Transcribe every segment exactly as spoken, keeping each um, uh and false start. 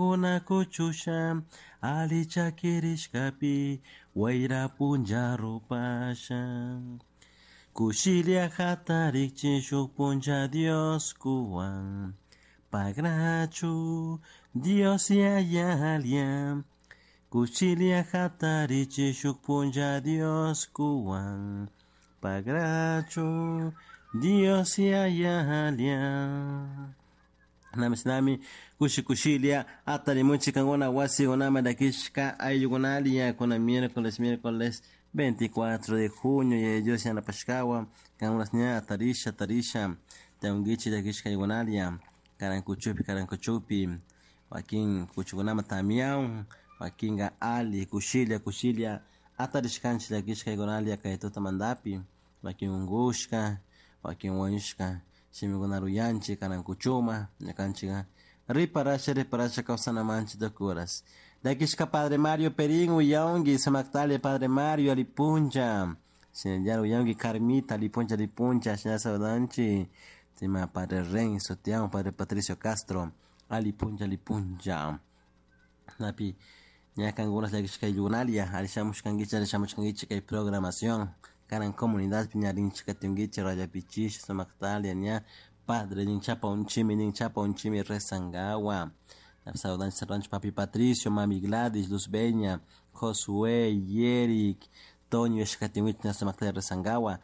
Kuna kuchusha ali chakirishkapi wayra punlla rupasha. Kushilia hatarikchin shuk punlla Dios kuwan pagrachu Dios yayalia. Kushilia hatarichi shuk punlla Dios kuwan pagrachu Dios yayalia. Nami kushi kushilia atarimunchi kankuna wasikunama llakishka ayllukunalia kuna miércoles miércoles veinticuatro de junio y Dios yanapashkawa kankunas ña atarisha atarisha tiyankichik llakishka ayllukunalia karankuchupi karankuchupi wakin kuchukunama tamiawan wakinka ali kushilia kushilia atarishkanchik llakishka ayllukunalia kay tutamantapi wakin unkushka wakin wañushka shimikuna ruyanchik karankuchuma ñukanchik riparasha riparasha kawsanamanchik tukuras. Llakishka Padre Mario Perín uyawanki sumaktali Padre Mario alipuncha shinallara uyawanki Carmita alipuncha alipuncha shinallara saludanchik ima Padre Renzo tiyan Padre Patricio Castro alipuncha alipuncha napi ña kankunas llakishka ayllukunalia alli shamushkankichik alli shamushkankichik kay programación kanan comunidadpi ña rinchik katinkichik rayapichish sumaktalia ña Padre nin chapa unchimi nin chapa unchimi rezankawa saludanchik saludanchik papi Patricio, mami Gladys, Luz Beña, Josué, Yerick, Toño ishkatinkichik ña sumaktalia rezankawa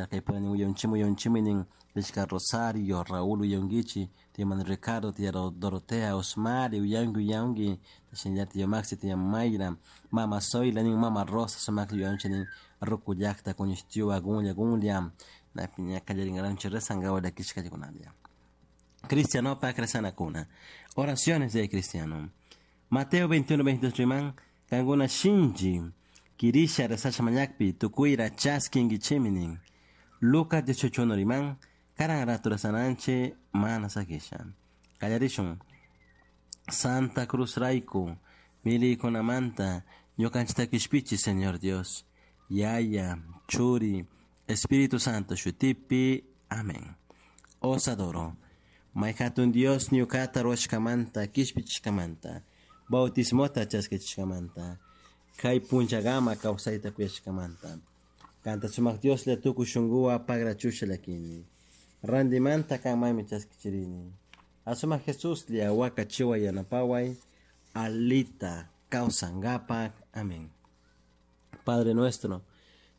kaypuna nin uyawanchimi uyawanchimi nin rishka Rosario, Raúl uyawankichik tía Manuel Ricardo, tía Dorotea, Osmari uyanki uyanki shinallara tía Maxi, tía Mayra, mama Zoila nin mama Rosa sumakta uyawanchik nin ruku llakta kuñishtiwa gunlla gunlla napi ña kallarinkaranchik rezankawa llakishka ayllukunalia. Cristianopak rezanakuna. Oraciones de cristiano. Mateo veintiuno veintidós riman kankuna shinchi kirisha rezasha mañakpi tukuyra chaskinkichimi nin. Lucas dieciocho uno riman karan rato rezananchik mana sakisha. Kallarishun. Santa Cruz rayku miliykunamanta ñukanchikta kishpichi Señor Dios. Yaya, Churi, Espíritu Santo shutipi. Amén. Os adoro. May hatun Dios ñukata ruwashkamanta kishpichishkamanta bautismota chaskichishkamanta kay punllakama kawsayta kuyashkamanta kanta sumak Dioslla tukuy shunkuwan pagrachusha llakini rantimanta kanmanmi chaskichirini asumak Jesuslla wakachiway yanapaway alita kawsankapak. Amén. Padre nuestro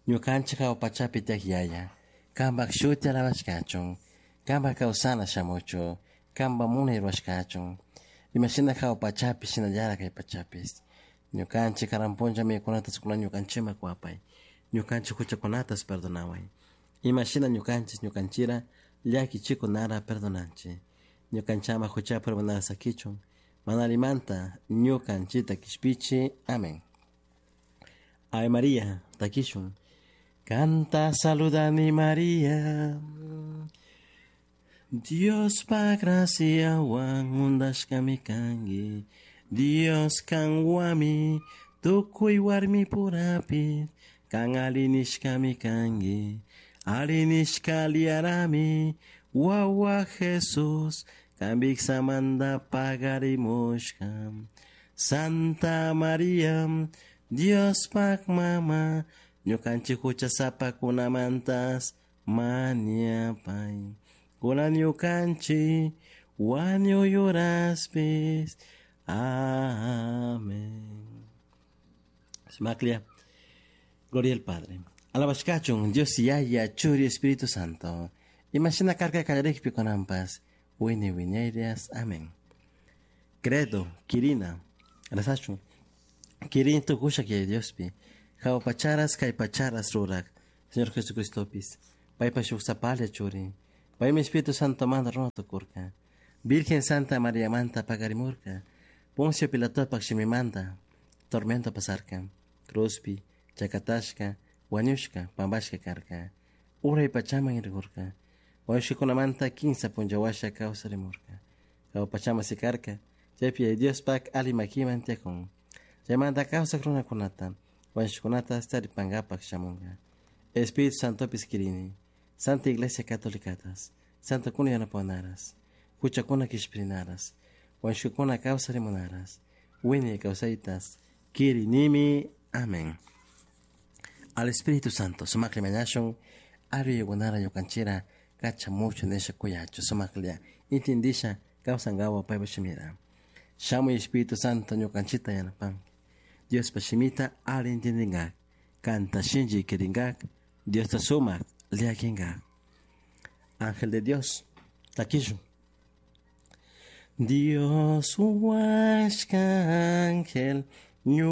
ñukanchik hawa pachapi tiyak yaya kanpak shuti alabashkachun kanpak kawsana shamuchu kanpak munay rurashkachun imashina hawa pachapi shinallara kay pachapis ñukanchik karan punlla mikunata kuna ñukanchikman kuwapay ñukanchik huchakunatas perdonaway imashina ñukanchik ñukanchira llakichikunara perdonanchik ñukanchama huchapi urmanara sakichun mana allimanta ñukanchikta kishpichi. Amén. Ave María, takishun. Kanta saludani María. Diospa graciawan undashkami kanki. Dios kanwami tukuy warmipurapi kan alinishkami kanki. Alinishka liarami wawa Jesus kanpiksamanta pagarimushka. Santa María Diospak mama ñukanchik huchasapakunamantas mañapay. Kunan ñukanchik wañuy uraspis. Amén. Sumaklia. Gloria al Padre. Alabashkachun Dios Yaya Churi Espíritu Santo. Imashina karka kallarikpi kunanpas. Wiñay wiñayrias. Amén. Credo, Kirina. Rezachun. Kirin tukushak Yaya Diospi. Hawa pacharas kay pacharas rurak. Señor Jesucristopis. Paypa shuk sapalla churi. Paymi Espíritu Santo manta runa tukurka. Virgen Santa María manta pakarimurka. Poncio Pilatopak shimimanta tormento pasarka. Cruzpi, chakatashka, wañushka, pampashka karka. Uray pachaman rirkurka. Wañushkakunamanta kinsa punlla washa kawsarimurka. Hawa pachaman sikarka. Chaypi Yaya Diospak ali makiman tiyakun. Chaymanta kawsak runakunata wañushkakunata taripankapak shamunka. Espíritu Santopis kirini. Santa Iglesia Católicatas, Santa Kuna yanapanaras, huchakuna kishpirinaras, Huañushkakuna kawsarimunaras, wiñay kawsaytas, kirinimi. Amén. Al Espíritu Santo, sumakli mañashun, aruyukunara ñukanchira, kachamuchu nisha kuyachu, sumaklia, intindisha, kawsankawa paypa shimira. Shamuy Espíritu Santo ñukanchita yanapanki. Diospa shimita ali intindingak, kanta shinchi kirinkak, Diosta sumak llakinkak. Ángel de Dios, takishun. Dios huashka ángel,